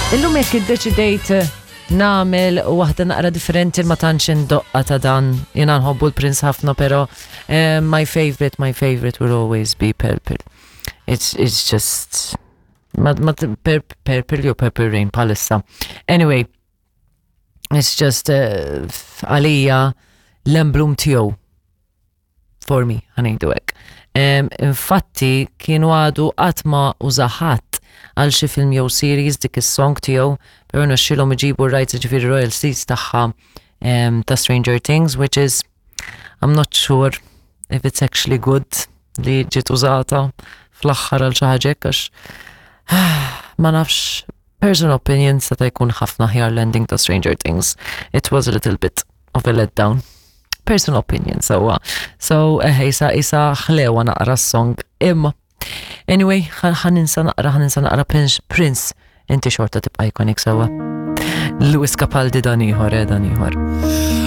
Illum jekk iddeċidejt nagħmel waħda naqra differenti ma tantx indoqqa ta' dan. Jiena nħobbu l-Prince ħafna, però eh, my favorite, my favorite will always be Purple. It's, it's just ma, ma, Purple jew Purple Rain palissa. Anyway, it's just eh, għalija l-emblem tiegħu for me, ħanejdu hekk. Infatti kienu għadu qatt ma użaħat għal xi film jew series dik is-song tiegħu, però nexxielhom iġibu r-rights ġifieri royalties tagħha ta' Stranger Things, which is I'm not sure if it's actually good li ġiet użata fl-aħħar għal xi ħaġa għax ma nafx personal opinion seta' jkun ħafna aħjar l-ending ta' Stranger Things. It was a little bit of a letdown. Personal opinion, sewwa. So, eħe, isa, isa ħlewa naqra s-song. Imma, anyway, ħaninsa naqra, ħaninsa naqra Prince, Prince, inti xorta tibqa' iconic sewwa. Louis Capaldi dan ieħor, eh, dan ieħor.